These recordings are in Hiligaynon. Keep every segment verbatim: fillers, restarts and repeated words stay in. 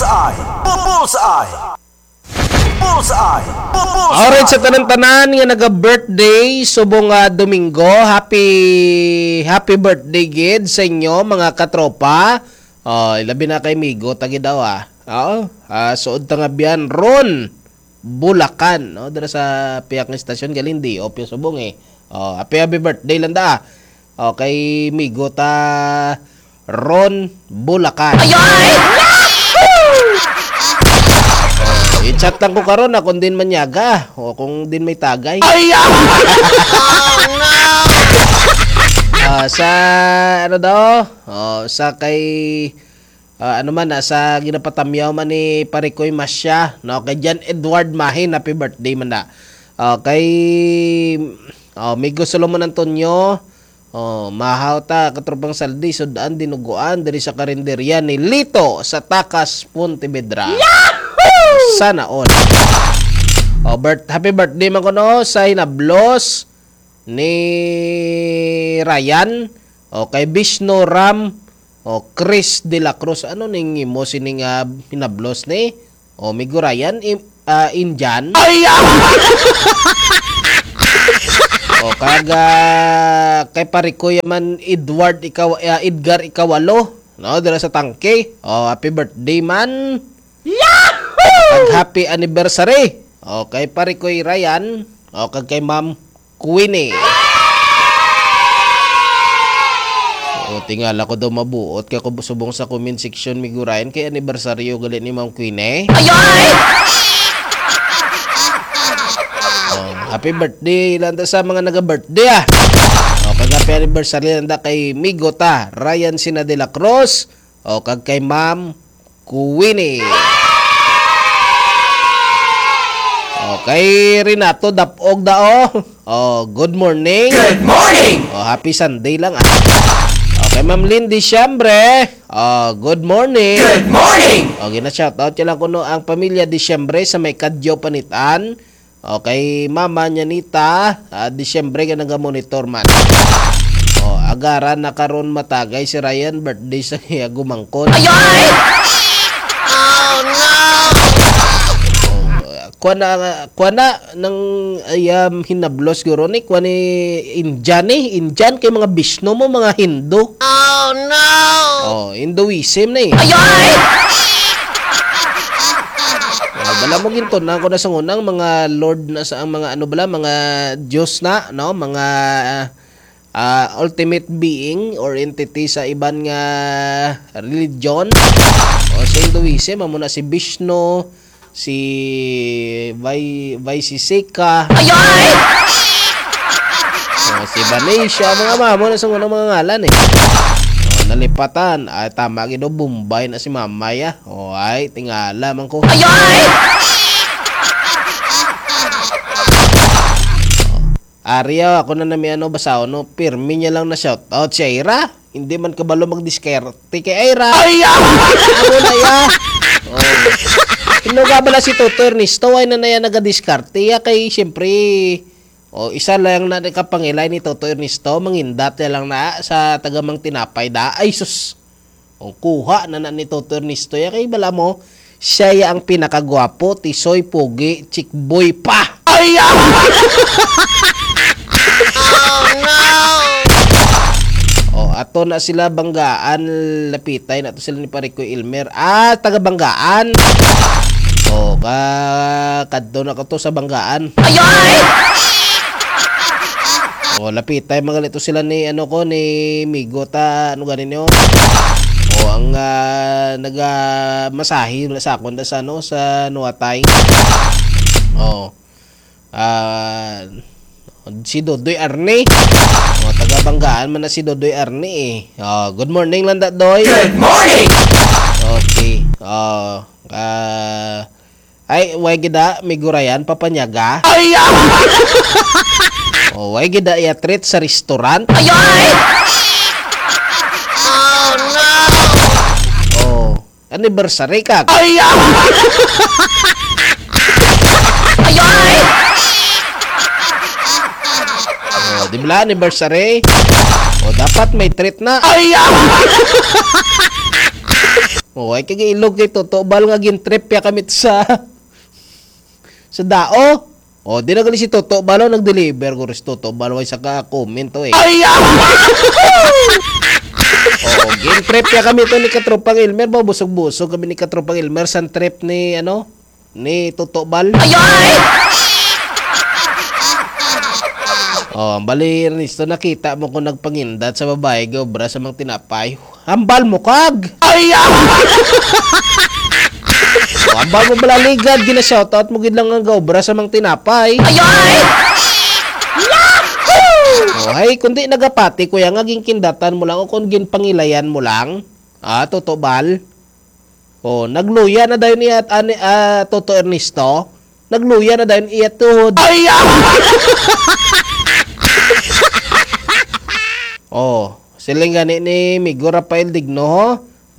Bullseye! Bullseye! Bullseye! Bullseye! Alright, sa tanan-tanan nga naga-birthday subong nga Domingo, happy, happy birthday gid sa inyo, mga katropa. Oh, ilabi na kay Migo, tagi daw, ah. Oo, ah, suod ta nga biyan, Ron Bulacan, no? Dira sa piyak nga istasyon, galing di, opyo subong, eh. Oh, happy, happy birthday lang da, ah. Oh, kay Migo ta, Ron Bulacan. Ay, ay! Oh, i-chat lang ko karon, ah, kung din manyaga o kung din may tagay. Ay, ah! Oh, no! Ah, sa, ano daw? Oh, sa kay, ah, ano man, ah, sa ginapatamyaw man ni Parikoy Masya, no? Kay John Edward Mahin, happy birthday man na. Oh, kay, oh, Migo Solomon Antonio, oh, mahaw ta, katropang Saldi, sud-an dinuguan diri sa karinderya ni Lito sa Takas, Pontevedra. Yahoo! Sana all. Oh, birth-, happy birthday man kuno sa hinablos ni Ryan, o kay Bishnu Ram, o Chris de la Cruz. Ano ning imo sining, ah, hinablos ni? O, Migo Ryan, im-, ah, Indian? Ay, ah! O, kag, ah, kay Parikoy man Edward ikaw, ah, Edgar Ikawalo, no, dira sa Tangke. O, happy birthday man. Yahoo! Kag happy anniversary. O, kay Parikoy Ryan, o, kag kay Ma'am Queenie. O, tingala ko daw mabuot ka ko subong sa comment section, Migo Ryan, kay anibersaryo gali ni Ma'am Queenie. Ay, ay! O, happy birthday lang ta sa mga naga-birthday, ah. O, kag happy anniversary lang ta kay Migo ta, Ryan Sina de la Cruz, o, kag kay Ma'am Queenie. Okay, Renato Dapog dao. Oh, good morning. Good morning! Oh, happy Sunday lang, ah. Okay, Ma'am Lynn Diciembre. Oh, good morning. Good morning! Oh, gina-shoutout ko lang kuno ang pamilya Diciembre sa may Kadyo Panitan. Okay, Mama Nyanita, ah, Disyembre ka naga-monitor man. Oh, agara na karon matagay si Ryan, birthday sa iya gumangkon. Ay, ay! Oh, no! Oh, kuha na, kuha na ng, ay, um, hinablos guro ni, kuha ni Indian eh. Indian kay mga Bishnu mo, mga Hindu. Oh, no! Oh, Hinduism na eh. Ay, ay! Ah, bala mo gintunan ko na sa unang mga lord na sa ang mga ano bala, mga Diyos na, no? Mga, ah, ultimate being or entity sa iban nga religion. O sa Hinduism, amo na si Vishnu, si Vai-, Vaisisika. Ay, ay! O, si Vanisha, mga mamo na sa unang mga ngalan eh. O, nalipatan. Ay, tama gid, o, Bombay na si Mamay, ah. O, ay, tingala man ko. Ay, ay! Ari, ah, ako na nami ano basahon, no? Pirmi niya lang na shout out si Ira. Hindi man kabalo magdiskarte kay Ira. Ay, ah! Amo na ya. Oh. Inuga bala si Toto Ernesto, ay na na yan nagadiskarte. Ya kay, siyempre, o, isa lang na nakapangilay ni Toto Ernesto, mangindat na lang na sa tagamang tinapay da. Ay, sus! O, kuha na na ni Toto Ernesto. Ya kay bala mo, siya ya ang pinakagwapo, tisoy, pogi, chick boy pa. Ay, ah! Oh, no! O, ato na sila Banggaan, lapitay na to sila ni Parikoy Elmer. Ah, taga Banggaan. O, ka-, kadto na ko to sa Banggaan. Ay, ay! O, lapitay, mga lito sila ni, ano ko, ni Migo ta, ano gani niyo? O, ang, ah, naga-, masahe sa akon da sa, ano, sa Nuatay. O. Ah, si Dodoy Arne. O, taga Banggaan man na si Dodoy Arne, eh. O, good morning lang da, Doy. Good morning! Okay. O, ah, ay, way gida, Migo Ryan, papanyaga. Ay, ah! O, way gida iya treat sa restaurant. Ay, ay! Oh, no! O, anniversary ka. Ay, ah! Ay, ay! O, di ba, anniversary? O, dapat may treat na. Ay, ah! O, ay kag ilog kay Toto Bal nga gin-trip ya kami sa, sa dao. O, di na gali si Toto Bal, o, nag-deliver ko rin si Toto Bal, way sa ka-comment to eh. Ay, ah! O, gin-trip ya kami to ni Katropang Elmer, ba, busog-busog kami ni Katropang Elmer sa trip ni, ano, ni Toto Bal. Ay, ay! O, ang bali, Ernesto, nakita mo kung nagpangindat sa babae, gaobra sa mga tinapay. Hambal mo kag! Ay, ah! O, hambal mo bala ligad, gina-shoutout mo gid lang ang gaobra sa mga tinapay. Ay, ay! O, hay, kundi nagapati, kuya, nga ginkindatan mo lang o kung ginpangilayan mo lang. Ah, Toto Bal. O, nagluya na dayon iya, ani, ah, Toto Ernesto. Nagluya na dayon iya tuhod. Ay, ah! O, siling gani ni Migo Rafael Digno, ho?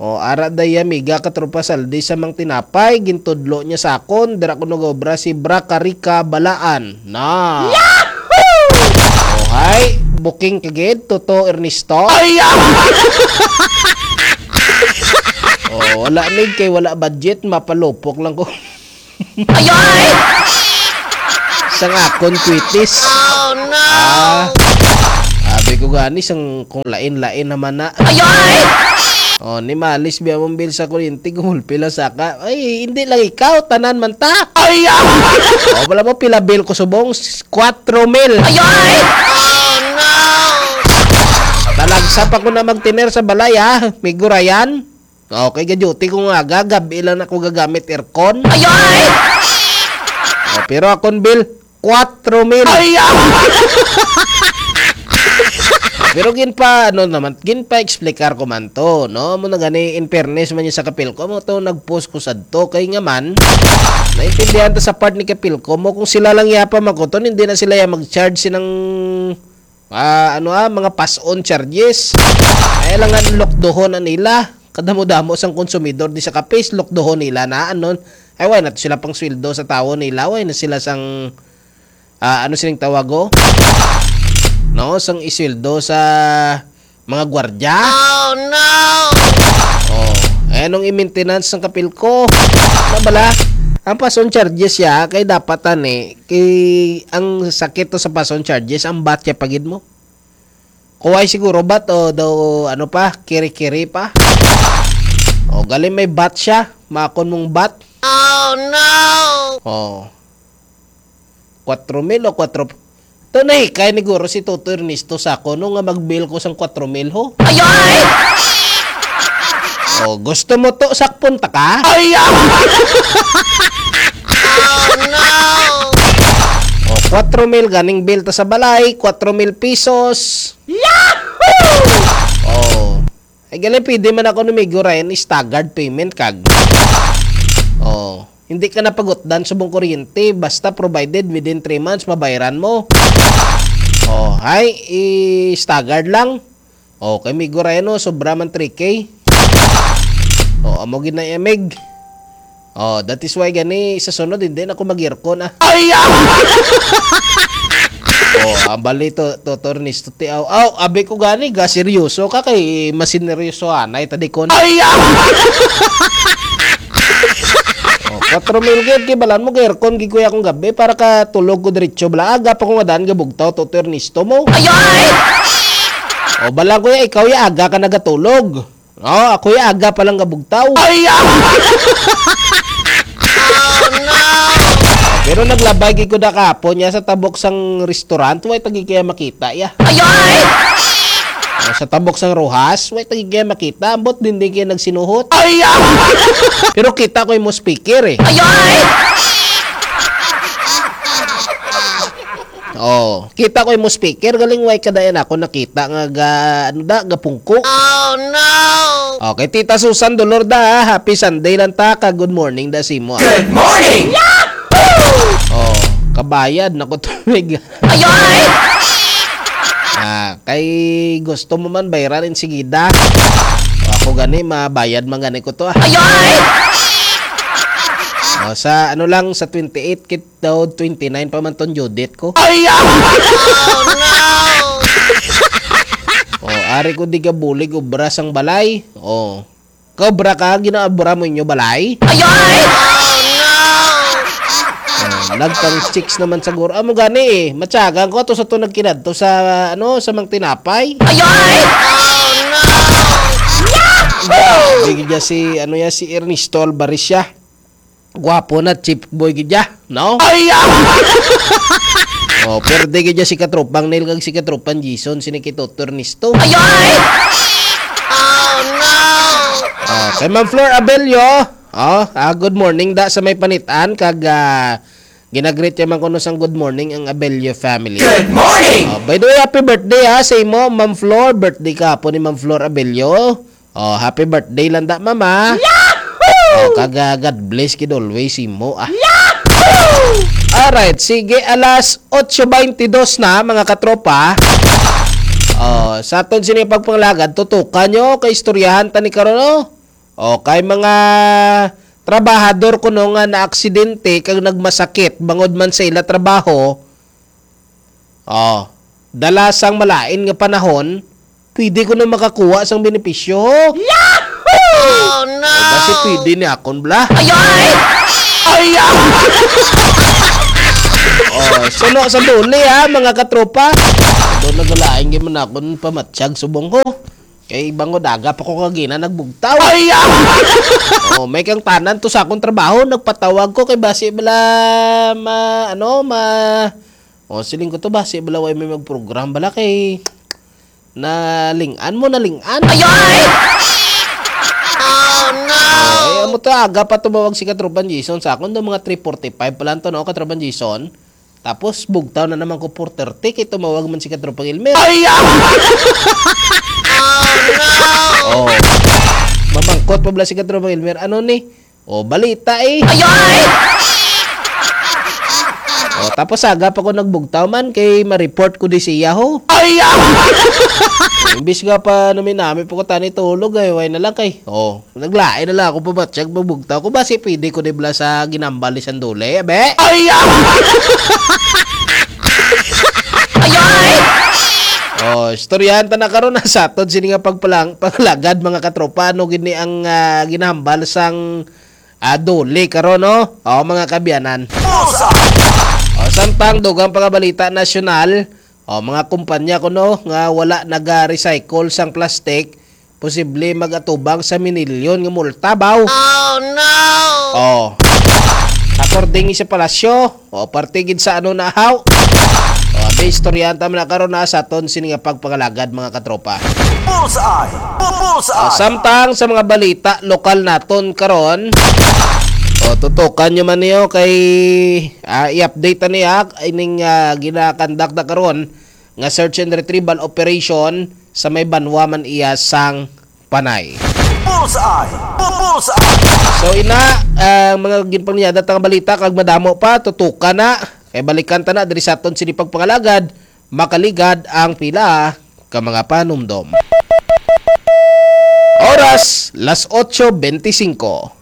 O, ara daya, miga, katropa Saldi sa mang tinapay, gintudlo niya sa akon, dira ko nag-obra si Bra Karika Balaan. Na. Yahoo! O, hay, booking ka gid, Toto Ernesto. Ay, ah! O, wala mig kay wala budget, mapalupok lang ko. Ay, ay! Sang akon kwitis. Oh, no! Ah, sabi ko gani, sang kung lain-lain naman na. Ay, ay! O, ni malis biya mong bill sa kuryente, gumulpi lang sa ka. Ay, hindi lang ikaw, tanan man ta. Ay, ah! O, wala mo, pila bill ko subong? S-, kwatro mil. Ay, ay! Oh, no! Talagsa pa ko na magtiner sa balay, ha? Migurayan. Okay, ga-duty ko nga aga, gabi lang ako gagamit aircon. Ay, ay! O, pero akon bill, kwatro mil. Ay, ah! Pero ginpa, ano naman, ginpa-explicar ko man to, no? Mo na gani, in fairness man niya sa Kapilco, mo to, nag-post ko sadto. Kay nga man, naintindihan ta sa part ni Kapilco mo, kung sila lang yapa makuton, hindi na sila ya mag-charge sinang, ah, ano, ah, mga pass-on charges. Ay lang nga, lokdohon na nila. Kadamo-damo sang konsumidor di sa kapis, lokdohon nila na, ano? Ay, way na to sila pang sweldo sa tawo nila, way na sila sang, ah, ano sining tawag, oh? No, sang isweldo sa mga gwardya. Oh, no! Oh, eh, anong i-maintenance ng Kapilco? Ano bala? Ang pass-on charges ya, kay dapat ani, kay ang sakit to sa pass-on charges, ang batya pagid mo. Kuway siguro bat o daw, ano pa, kiri-kiri pa. O, gali may bat siya, makon mong bat. Oh, no! Oh. Kwatro mil o kwatro, to nahikay ni guro si Toto Ernesto sa ako, no, nga mag-bill ko sang kwatro mil, ho. Ay, ay! O, gusto mo to, sakpon ta ka? Ay, ah! Oh, no! O, kwatro mil ganing bill ta sa balay, kwatro mil pesos. Yahoo! O. Ay, gali, pwede man ako ni Migo Ryan, staggered payment kag. O. Hindi ka na pagutdan subong kuryente, basta provided within three months, mabayaran mo. O, hay, i-staggered lang. O, kay Migo Ryan, no, sobra man three K. O, amo gid na, Emig. O, that is why gani sa sunod, hindi na ako mag-aircon, ah. Ay, ah! O, ang bali to, to, Tornis, to, ti-, aw, aw, abi ko gani, ga seryoso ka kay masineryoso anay, tadikon. Ay, ah! O, kwatro mil gid, kay balan mo, ga-aircon gid kuya kong gabi, para ka tulog ko diretso, bala, aga pa ko nga daan, gabugtaw, to, Tornisto mo. Ay, ay! O, bala, kuya, ikaw, ya, aga ka nagatulog. O, ako ya, aga pa lang gabugtaw. Ay, ah! Oh, no! Pero naglabay gid ko na kahapon ya sa tabok sang restaurant, way tagi kaya makita ya. Ay, ay! O, sa tabok sang Rojas, way tagi kaya makita, ambot din di kaya nagsinuhot. Ay, ah! Pero kita ko yung speaker eh. Ay, ay! Oh, kita ko imo speaker, galing way ka dayon ako nakita nga ga, ano da, gapungko. Oh, no! Okay, Tita Susan Dolorda, ha? Happy Sunday lang ta, ka good morning da simo, ah. Good morning! Oh, kabayad na ko tubig. Ayoy! Ah, kay gusto mo man bayaran insigida. O, ako gani, mabayad man gani ko to, ah. Ayoy! O, sa ano lang, sa twenty-eight kit daw, twenty-nine pa man ton due date ko. Ay, ah! Oh, no! O, ari ko di ka bulig, obra sang balay. O. Cobra ka, ginaabra mo inyo balay? Ay, ay! Oh, nagpang chicks naman siguro. Amo gani eh. Matyagan ko ato sa to nagkinadto sa, ano, sa Mang Tinapay. Ay, ay! Oh, no! Yahoo! Bigyan niya si, ano ya, si Ernesto Alvarez siya. Gwapo na, chief boy gid ya, no? Ay, ah! Oh, perde gid ya si katropang Neil kag si katropang Jason, sini kay Toto Ernesto. Ay, ay! Oh, no! Oh, kay Ma'am Flor Abelio, oh, ah, good morning da sa may panitan kag, ah, ginagreet niya man kuno sang good morning ang Abelio family. Good morning! Oh, by the way, happy birthday ha sa imo, Ma'am Flor. Birthday ka po ni Ma'am Flor Abelio. Oh, happy birthday lang da, mama. Yahoo! Oh, kag, ah, God bless gid always imo, ah. Yahoo! Alright, sige, alas otso beintidos na, mga katropa. Oh, sa aton sini pagpanglagad, tutukan nyo kay istoryahan ta ni karon, no? Oh, kay mga trabahador kuno nga naaksidente kag nagmasakit bangod man sa ila trabaho, oh, dala sang malain nga panahon, pwede ko na makakuha sang benepisyo. Yahoo! Oh, no! O, basi pwede ni akon, bla. Ay, ay! Ay, ah! Oh, suno sa duli, ha, mga katropa. Doon nagalain gyud man akon pamatsyag subong ko. Kay bangod aga pa ko kagina nagbugtaw. Ay, ah! Oh, may kang tanan to sa akong trabaho, nagpatawag ko kay basi bala ma, ano, ma, oh, siling ko to, basi bala way may magprogram bala kay naling-an mo, naling-an. Ay, ay! Oh, no! Oh, eh, amo to, aga pa tumawag si Katropan Jason sa akon, do mga three forty-five pa lang to, no, Katropan Jason? Tapos, bugtaw na naman ko four thirty, kay tumawag man si Katropang Elmer. Ay, ah! Oh, no! Oh. Mamangkot pa bala si Katropang Elmer, ano ni? Oh, balita eh. Ay, ay! Oh, tapos aga pa ko nagbugtaw man, kay ma-report ko di siya, ho. Ay, ah! Imbis nga pa nami-nami pa ko tani tulog, ay, way na lang kay. Oh, naglain na lang ako pamatsyag magbugtaw ko. Basi pwede ko di bala sa ginambal ni Sandole, abe? Ay, ah! Ay, ay! Oh, istoryahan ta na karon na sa aton sini nga pagpalang-, pangalagad, mga katropa. Ano gid ni ang, ah, ginahambal sang, ah, dole karon, no? Oh, mga kaabyanan. Bullseye! Oh, samtang dugang pa nga balita nasyonal, oh, mga kumpanya kuno nga wala naga-recycle sang plastic, posible magatubang sa minilyon nga multa, baw. Oh, no! Oh. According sa palasyo, o parte gid sa ano na, haw. O, abi, istoryahan ta man na karon na sa aton sini nga pagpangalagad, mga katropa. Bullseye! Bu-, bullseye! O, samtang sa mga balita lokal naton karon, o, tutukan nyo man niyo kay, ah, i-update ta niya ining, ah, ginakandak na karon nga search and retrieval operation sa may banwa man iya sang Panay. Bullseye! Bu-, bullseye! So, ina, ang mga ginpangyada ta nga balita, kag madamo pa, tutukan na. Kay balikan ta na diri sa aton sini pagpangalagad, makaligad ang pila ka mga panumdom. Oras, las otso beintisinko.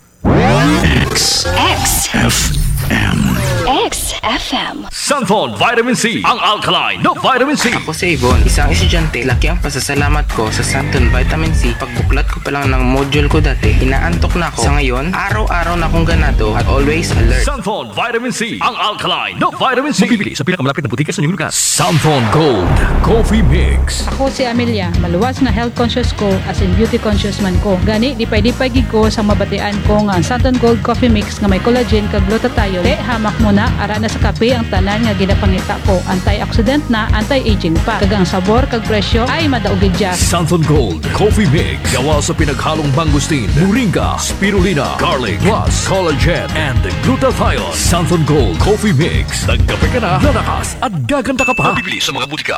X. X. F M. X F M. Santhon Vitamin C, ang alkaline na vitamin C. Ako si Ivon, isang estudyante. Laki ang pasasalamat ko sa Santon Vitamin C. Pagbuklat ko pa lang ng module ko dati, inaantok na ako. Sa ngayon, araw-araw na akong ganado at always alert. Santhon Vitamin C, ang alkaline na vitamin C. Mabibili sa pinakamalapit na butika sa inyong lugar. Santhon Gold Coffee Mix. Ako si Amelia. Maluwas nga health conscious ko, as in beauty conscious man ko. Gani, lipay-lipay gid ko sa mabatian ko nga ang Santon Gold Coffee Mix nga may collagen kag glutathione. Te, hamak mo na, ara na sa kape ang tanan nga ginapangita ko. Antioxidant na, anti-aging pa. Kag ang sabor kag presyo ay madaog gid dya. Santon Gold Coffee Mix. Gawa sa pinaghalong mangosteen, moringa, spirulina, garlic, plus collagen and glutathione. Santon Gold Coffee Mix. Nagkape ka na, lalakas at gaganda ka pa. Mabibili sa mga butika.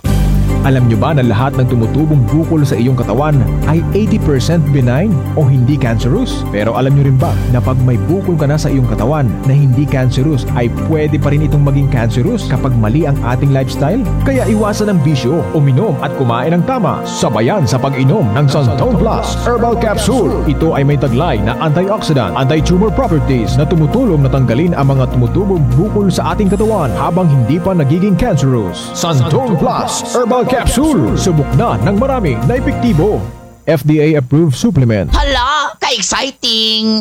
Alam nyo ba na lahat ng tumutubong bukol sa iyong katawan ay eighty percent benign o hindi cancerous? Pero alam nyo rin ba na pag may bukol ka na sa iyong katawan na hindi cancerous, ay pwede pa rin itong maging cancerous kapag mali ang ating lifestyle? Kaya iwasan ang bisyo, uminom at kumain ng tama. Sabayan sa pag-inom ng Santon Plus Herbal Capsule. Ito ay may taglay na antioxidant, anti-tumor properties na tumutulong na tanggalin ang mga tumutubong bukol sa ating katawan habang hindi pa nagiging cancerous. Santon Plus Herbal Capsule. Subok na ng marami na epektibo. F D A-approved supplement. Hala, ka-exciting!